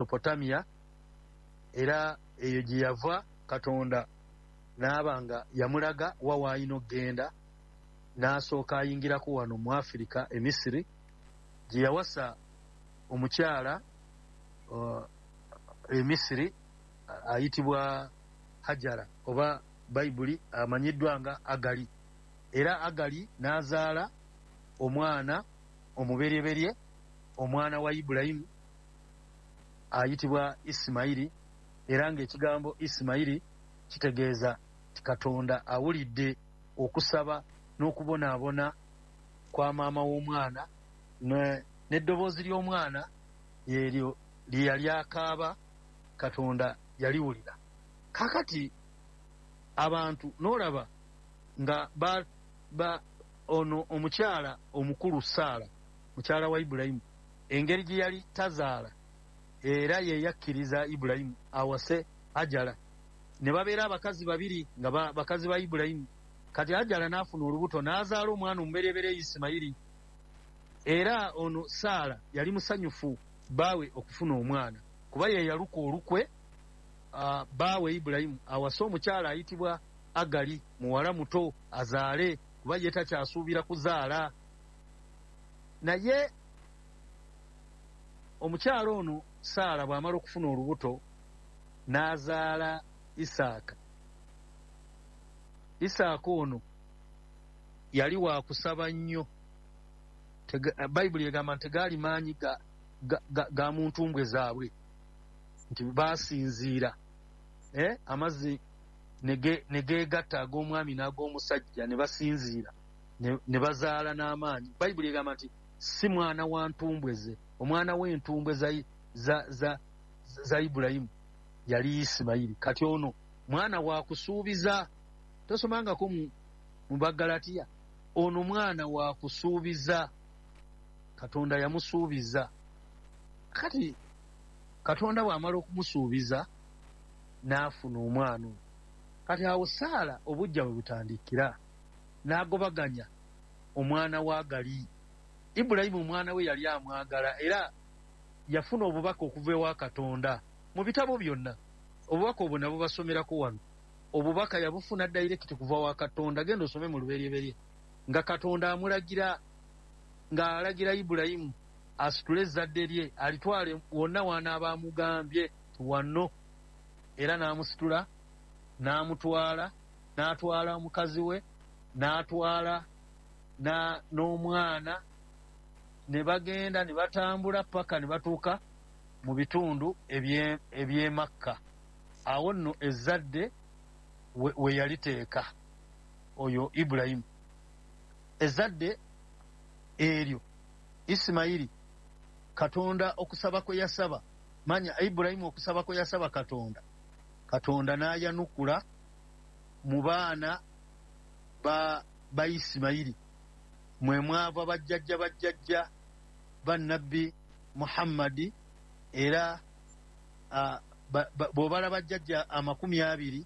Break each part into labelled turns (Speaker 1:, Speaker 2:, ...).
Speaker 1: Mesopotamia, era eyo gye yava Katonda n'aba nga yamulaga wa w'alina okugenda, n'asooka ayingirako wano mu Afirika e Misiri gye yawasa omukyala e Misiri ayitibwa Hajara, oba Bayibuli amanyiddwa nga Agali. Era Agali n'azaala omwana omubereberye, omwana wa Ibulayimu ayitibwa Isimayiri, era ng'ekigambo Isimayiri kitegeeza nti Katonda awulidde okusaba n'okubonaabona kwa maama w'omwana, n'eddoboozi ly'omwana lyeryo lye yali akaaba, Katonda yaliwulira. Kaakati abantu n'olaba nga ono omukyala omukulu Saala, mukyala wa Ibulayimu, engeri gye yali tazaala, era ye yakkiriza Ibulayimu awase Hajara, ne babeera abakazi babiri nga bakazi ba Ibulayimu. Kati Hajara n'afuna olubuto n'azaala omwana omubereberye Isimayiri. Era ono Saala yali musanyufu baawe okufuna omwana, kuba ye yaluka olukwe baawe Ibulayimu awase omukyala ayitibwa Agali, muwala muto, azaale, kuba ye takyasuubira kuzaala. Naye omukyala ono Saala bw'amala okufuna olubuto n'azaala Isaaka. Isaaka ono yali wa kusaba nnyo. Bayibuli egamba nti tegaali maanyi ga mu ntumbwe zaabwe, nti baasinziira amazzi ne geegatta ag'omwami n'ag'omusajja, ne basinziira ne bazaala n'amaanyi. Bayibuli egamba nti si mwana wa ntumbwe ze, omwana w'entumbwe za Ibulayimu yali Isimayiri. Kati ono mwana wa kusuubiza, tosomangako mu Bagalatiya, ono mwana wa kusuubiza, Katonda yamusuubiza. Kati Katonda bw'amala okumusuubiza n'afuna omwana ono. Kati awo Saala obujja bwe butandikira, n'agobaganya omwana wa Agali. Ibulayimu omwana we yali amwagala, era yafuna obubaka okuva ewa Katonda mu bitabo byonna. Obubaka obwo nabwo basomerako wano. Obubaka yabufuna direct kuva wa Katonda. Genda osome mu Lubereberye nga Katonda amulagira, ng'alagira Ibulayimu asitule ezzadde lye alitwale wonna w'anaaba amugambye wano. Era n'amusitula n'amutwala, n'atwala omukazi we, n'atwala n'omwana, ne bagenda ne batambula paka ne batuuka mu bitundu eby'e Makka. Awo nno ezzadde we yaliteeka oyo Ibulayimu. Ezzadde eryo Isimayiri, Katonda okusaba kwe yasaba, manya Ibulayimu okusaba kwe yasaba Katonda, Katonda n'ayanukula mu baana ba Isimayiri, mwe mwava bajjajja ba Nabbi Muhammadi. Era bw'obala bajjajja 20,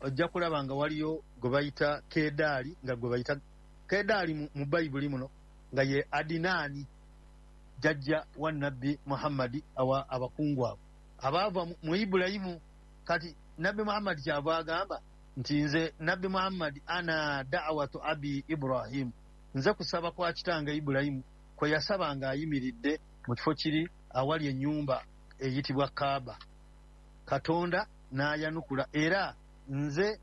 Speaker 1: ojja kulaba nga waliyo gwe bayita Kedaali, nga gwe bayita Kedaali mu Bayibuli muno, nga ye Adinaani, jjajja wa Nabbi Muhammadi, abakungu abo abaava mu Ibulayimu. Kati Nabbi Muhammadi kyava agamba nti nze Nabbi Muhammadi ana da'watu abi Ibrahim, nze kusaba kwa kitange Ibulayimu kwe yasaba ng'ayimiridde mu kifo kiri awali ennyumba eyitibwa Kaaba. Katonda n'ayanukula, era nze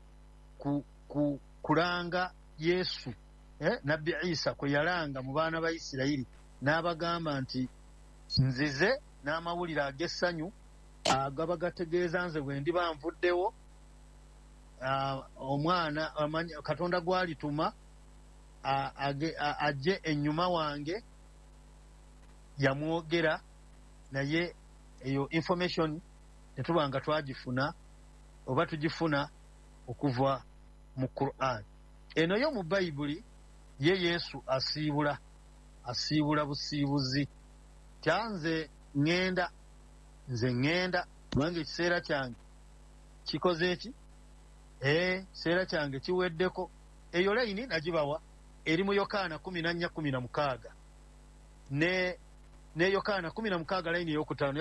Speaker 1: kulanga Yesu, Nabbi Isa kwe yalanga mu baana ba Isirayiri, n'abagamba nti nzize n'amawulire ag'essanyu agaba gategeeza nze bwe ndiba nvuddewo, omwana Katonda gw'alituma ajje ennyuma wange. Yamwogera, naye eyo information netuba nga twagifuna oba tugifuna okuva mu Qur'an. Eno yo mu Bayibuli ye Yesu asiibula busiibuzi. Tyanze ŋŋenda, nze ŋŋenda kubanga ekiseera kyange kikoze eki? Ekiseera kyange kiweddeko. Eyo layini nagibawa eri mu Yokaana 14:16 ne Yokaana 16 layini ey'okutaano.